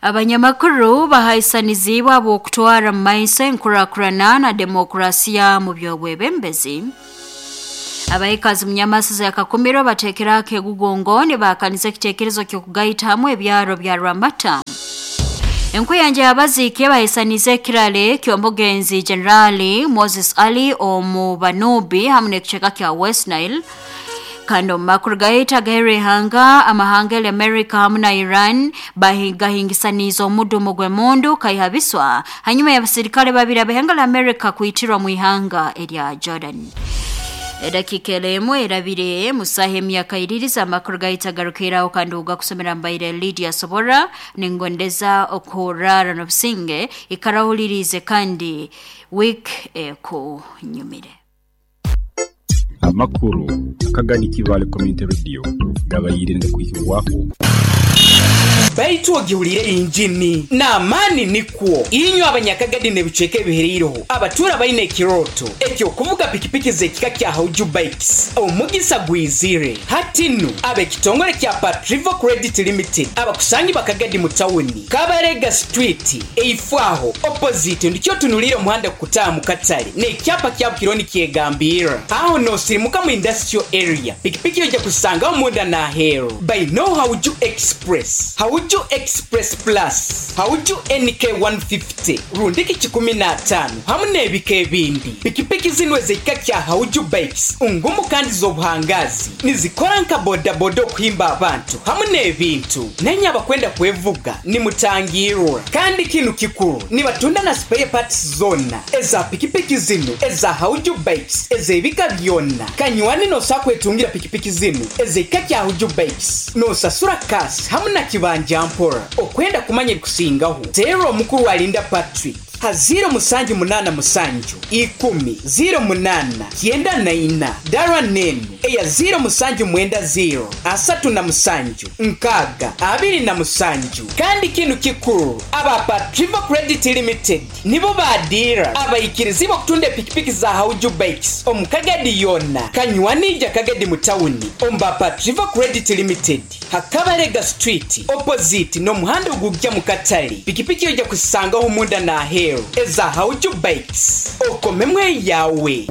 Abanyamakuru bahaisaniziibwe habw'okutwara mu maiso enkurakurana na demokrasiya mu by'obwebembezi. Abaikazi mu Nyamasiza ya Kakumiro bateekeraho akeegugungo nibaakaniza ekiteekerezo ky'okugaita hamwe ebyaro bya Rwamata. Enkuyanja y'abaziiki bahaisaniize ekirale ky'omugenzi Generali Moses Ali omu Banubi hamu n'ekicweka kya West Nile. Kandi omu makuru gaitu agaheru ihanga, amahanga eri America hamu na Iran bahingahingisaniize omudumu gw'emundu kaihabiswa hanyuma y'abasirikale babiri ab'ihanga lya America kwitirwa mu ihanga erya Jordan. Edakiika emu erabire musaha emyaka iririza amakuru gaitu agarukiraho kandi ugakusomera mbaire Lydia Sobora ningondeza okurara n'obusinge ikarahulirize kandi week ekunyumire. Amakuru akagani Kibaale Community Radio gabaire nigakwihibwaho. Baitu ogihuriire engini n'amaani nikwo. Inywe Abanyakagadi n'ebicweka ebihereireho abatuura baine ekirooto eky'okuvuga pikipiki z'ekika kya Hauju Bikes, omugisa gwizire. Hati nu, ab'ekitongore kya Patrivo Credit Limited abakusangibwa Kagadi mu tawuni, Kabarega Street, eifo aho, opposite, ndikyo otunuliire omuhanda gukutaaha mu katale n'ekyapa kyabo kiriho nikyegambirra. Aho noosirimuka mu Industrial Area, pikipiki oija kuzisangaho munda n'aheeru. Baineo Hauju Express, Hauju Express Plus, Hauju NK 150 rundiki kikumi n'ataano hamu n'ebika ebindi. Pikipiki zinu ez'ekika kya Hauju Bikes ngumu kandi z'obuhangaazi. Nizikora nka bodaboda okuhimba abantu hamu n'ebintu. Nainye abakwenda kwevuga nimutangiirwa. Kandi kinu kikuru, nibatunda na spare parts zoona eza pikipiki zinu eza Hauju Bikes ez'ebika byona. Kanywani nosobola kwetungira pikipiki zinu ez'ekika kya Hauju Bikes nosasura cash hamu na kibanja mpora. Okwenda kumanya ebikusingaho, teera omukuru Alinda Patrick. Ha ziiro musanju munaana musanju, ikumi, ziiro munaana, kyenda na ina, dara n'enu eya ziiro musanju mwenda ziiro, 37, 60, 27. Kandi kinu kikuru, aba Patrivo Credit Limited nibo ba diira abaikirizibwa okutunda epikipiki za Hauju Bikes omu Kagadi yoona. Kanywani ija Kagadi mu tawuni omu ba Patrivo Credit Limited. Ha Kabalega Street opposite n'omuhanda ogugya mu katale, pikipiki oija kuzisangaho munda n'aheeru eza Hauju Bikes. Okomemu eyaawe.